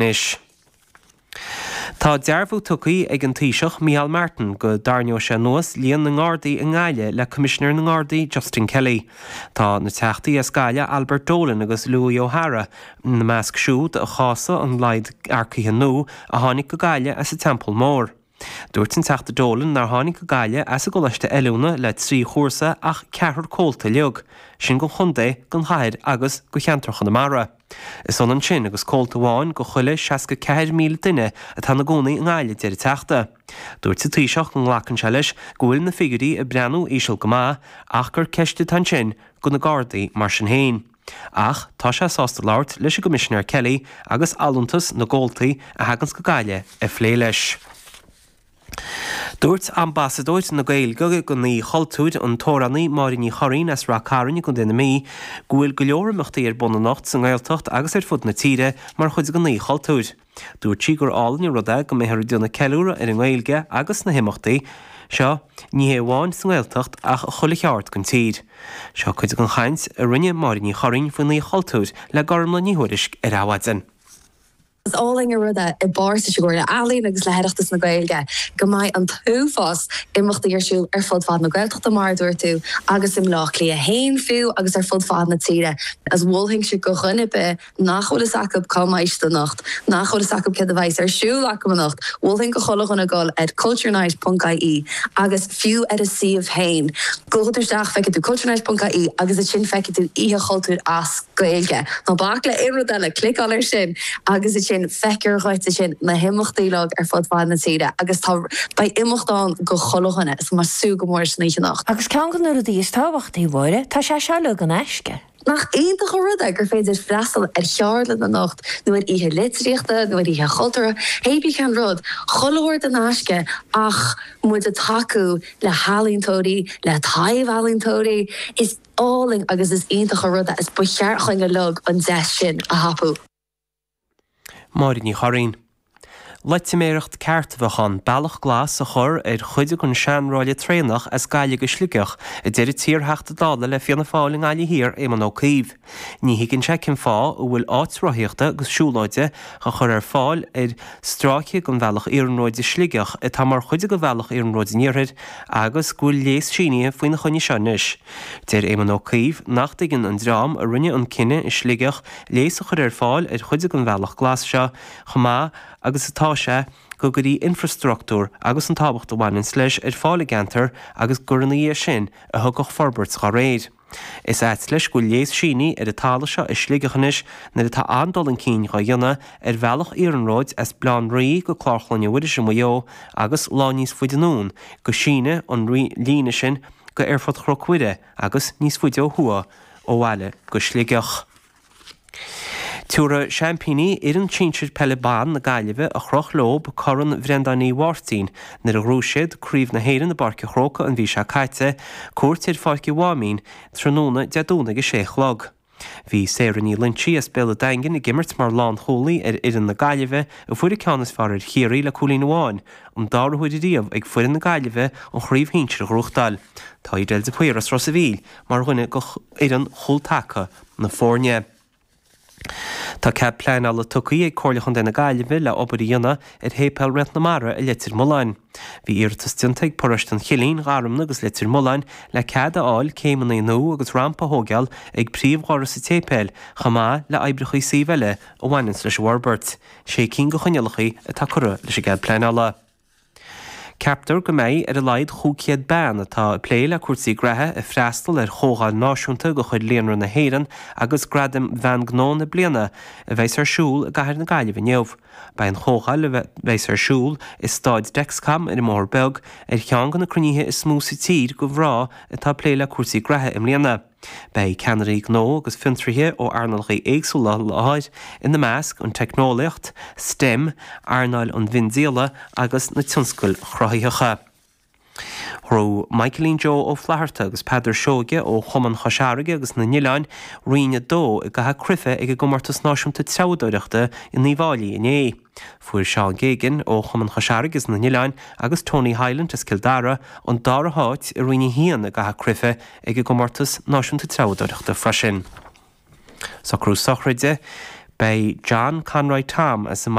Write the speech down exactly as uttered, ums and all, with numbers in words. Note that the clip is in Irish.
Anois. Tá dearbhú tugtha ag an Taoiseach Micheál Martin go dtarraingeoidh sé anuas líon na nGardaí i nGaillimh le Coimisinéir na nGardaí Justin Kelly. Tá na teachtaí as Gaillimh Albert Dolan agus Louis O'Hara ina measc siúd a chásaigh an laghad earcaithe nua a tháinig go Gaillimh as an Teampall Mór. Dúirt an Teachta Dolan nár tháinig go Gaillimh as an gcoláiste oiliúna le trí chúrsa ach ceathrar comhalta uilig, sin don chontae, don chathair agus do cheantar Chonamara. Is ionann sin agus comhalta amháin do chuile seasca ceathair míle duine atá ina gcónaí i nGaillimh, deir an Teachta. Dúirt an Taoiseach go nglacann sé leis go bhfuil na figiúirí ag breathnú íseal go maith ach gur ceist atá ansin do na Gardaí mar sin féin. Ach tá sé sásta labhairt leis an gCoimisinéir Kelly agus allúntas na gcomhaltaí a thaganns go Gaillimh a phlé leis. Dúirt Ambasadóir na Gaeilge don Oíche Chultúir, an t-amhránaí Máire Ní Churraoin as Rath Cairn i gContae na Mí, go bhfuil go leor imeachtaí ar bun anocht sa nGaeltacht agus ar fud na tíre mar chuid den Oíche Chultúir. Dúirt sí gur álainn an rud é go mbeifear ag déanamh ceiliúradh ar an nGaeilge agus na himeachtaí seo, ní hé amháin sa nGaeltacht ach i chuile cheard den tír. Seo cuid den chaint a rinne Máire Ní Churraoin faoin Oíche Chultúir le Gormlaith Ní Thuairisg ar Adhmhaidin. Is álainn an rud é i bpáirt leis an gComhairle Ealaíon agus le hOireachtas na Gaeilge go mbeidh an t-uafás imeachtaí ar siúl ar fud fad na Gaeltachta mar a dúirt tú agus i mBleá Cliath féin fiú agus ar fud fad na tíre. Is mholfainnse do dhuine ar bith nach bhfuil fhios acu cá mbeidh siad anocht, nach bhfuil fhios acu céard a bheas ar siúl acu anocht, mholfainn do chuile dhuine dul ar culturenight ponc ie agus fiú ar a suíomh féin. Gabhfaidh tú isteach, feicfidh tú culturenight ponc ie agus ansin feicfidh tú Oíche Chultúir as Gaeilge. Ná bac le aon rud eile, cliceáil air sin agus ansin feicfear dhuit ansin na himeachtaí uilig ar fud fad na tíre agus tá beidh imeacht ann do chuile dhuine is mé ag súil go mór leis an oíche anocht. Agus ceann de na rudaí is tábhachtaí, a Mháire, tá sé seo uilig in aisce. Nach iontach an rud é gur féidir freastal ar cheardlann anocht nó ar oíche litríochta nó ar oíche chultúrtha, hé bí cén rud, chuile shórt in aisce ach muid ag tacú le healaíontóirí, le taibh-ealaíontóirí, is álainn agus is iontach an rud é is ba cheart chugainn uilig an deis sin a thapú. Máire Ní Churraoin. Loitiméireacht ceart a bheadh ann bealach glas a chur ar chuid den seanráille traenach as Gaillimh go Sligeach, a deir an t-iarTheachta Dála le Fianna Fáil i nGaillimh Thiar, Éamon Ó Cuív. Ní thuigeann sé cén fáth a bhfuil áit rothaíochta agus siúlóide á chur ar fáil ar stráice den bhealach iarnróid i Sligeach atá mar chuid de bhealach iarnróid an Iarthair agus go bhfuil léas sínithe faoina choinne seo anois. Deir Éamon Ó Cuív nach dtuigeann an dream a rinne an cinneadh i Sligeach léas a chur ar fáil ar chuid den bhealach glas seo chomh maith agus atá sé go gcuirí infreastruchtúr agus an tábhacht a bhaineanns leis ar fáil i gceantar agus gur ina dhiaidh sin a thiocfadh forbairt dá réir. Is ait leis go bhfuil léas sínithe ar an talamh seo i Sligeach anois nuair atá an-dul chun cinn dhá dhéanamh ar bhealach iarnróid as Baile Átha an Rí go Clár Chlainne Mhuiris i Maigh Eo agus lá níos faide anonn go síneadh an líne sin go Aerfort Chnoc Mhuire agus níos faide ó thuaidh ó bhaile go Sligeach. Tabharfaidh seaimpíní fhoireann sinsir peile ban na Gaillimhe a chroch leo Corn Bhreandáin Uí Mháirtín nuair a ghnóthaigh siad Craobh na hÉireann i bPáirc an Chrócaigh an mhí seo caite, cuairt ar Pháirc an Mháimín tráthnóna Dé Domhnaigh ag a sé a chlog. Bhí Sarah Ní Loinsigh as Béal an Daingin ag imirt mar lánchúlaí ar fhoireann na Gaillimhe a fuair an ceann is fearr ar Chiarraí le cúilín amháin, an dara huair ariamh ag foireann na Gaillimhe an chraobh shinsir a ghnóthachtáil. Tá Edel de Paor as Ros a' Mhíl mar dhuine de fhoireann chúltaca na foirne. Tá cead pleanála tugtha ag Comhairle Chontae na Gaillimhe le obair a dhéanamh ar Shéipéal Réalt na Mara i Leitir Mealláin. Bhí iarratas déanta ag paróiste an Chillín, Gharmna agus Leitir Mealláin le cead a fháil céimeanna nua agus rampa a thógáil ag príomhdhoras an tséipéil chomh maith le oibreacha suímh eile a bhaineanns leis an bhforbairt. Sé cinn de choinníollacha atá curtha leis an gcead pleanála. Ceaptar go mbeidh ar a laghad chúig chéad bean atá ag plé le cúrsaí graithe ag freastal ar chomhdháil náisiúnta de chuid Líonra na hÉireann agus Gradaim Bhean Gnó na Bliana a bheas ar siúl i gcathair na Gaillimhe inniu. Beidh an chomhdháil, a bheas ar siúl i Staid Dexcom ar an mBóthar Beag, ar cheann de na cruinnithe is mó sa tír do mhná atá ag plé le cúrsaí graithe i mbliana. Beidh ceannairí gnó agus fiontraithe ó earnálacha éagsúla i láthair, ina measc an teicneolaíocht, stem, earnáil an mhiondíola agus na tionscail chruthaitheacha. Ghnóthaigh Michaelín Joe Ó Flatharta agus Peadar Seoige ó Chumann Chois Fharraige agus na nOileán Roinn a dó i gcaitheamh cruife ag an gComórtas Náisiúnta Treabhadóireachta in Uíbh Fháilí inné. Fuair Seán Geoghegan ó Chumann Chois Fharraige is na nOileán agus Tony Hyland as Cill Dara an dara háit i Roinn a haon i gcaitheamh cruife ag an gComórtas Náisiúnta Treabhadóireachta freisin. Socrú sochraide Beidh John Conroy Tom as an